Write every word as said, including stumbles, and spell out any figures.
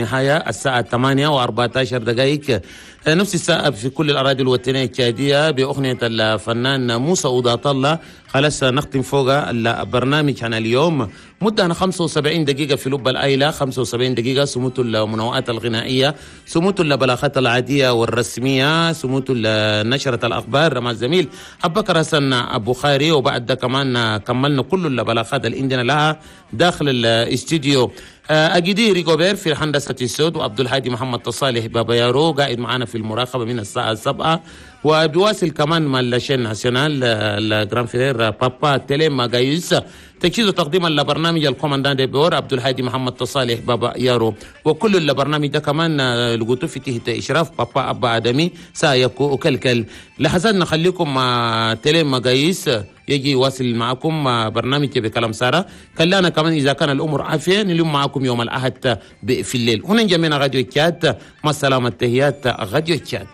النهاية الساعة ثمانية وأربعة عشر دقائق، نفس الساعة في كل الأراضي الوطنية التشادية، بأغنية الفنان موسى أوضة الله. خلاص نختم فوق البرنامج عن اليوم، مدة خمسة وسبعين دقيقة في لب الأيلة، خمسة وسبعين دقيقة سموت المنوعات الغنائية، سموت البلاغات العادية والرسمية، سموت نشرة الأخبار مع الزميل أبو بكر حسن أبو خاري، وبعد ده كمان كملنا كل البلاغات اللي عندنا لها داخل الاستديو. أجدي ريغوبير في هندسة الصوت، وعبد الهادي محمد صالح بابا يارو قاعد معنا في المراقبة من الساعة سبعة، وبيواصل كمان مع la chaîne nationale ال grand frère بابا تيلي ماغايوس. تجهيز وتقديم البرنامج ال commandant de bord عبد الهادي محمد صالح بابا يارو، وكل البرنامج ده كمان لقيتوه في تحت اشراف بابا ابا ادمي سايكو وكلكل. لحظات نخليكم مع تيلي ماغايوس يجي يواصل معكم برنامج بكلام سارة. كلانا كمان إذا كان الأمور عافية نلم معكم يوم الأحد في الليل. هنا جميعنا راديو تشاد، مع السلامة، تحيات راديو تشاد.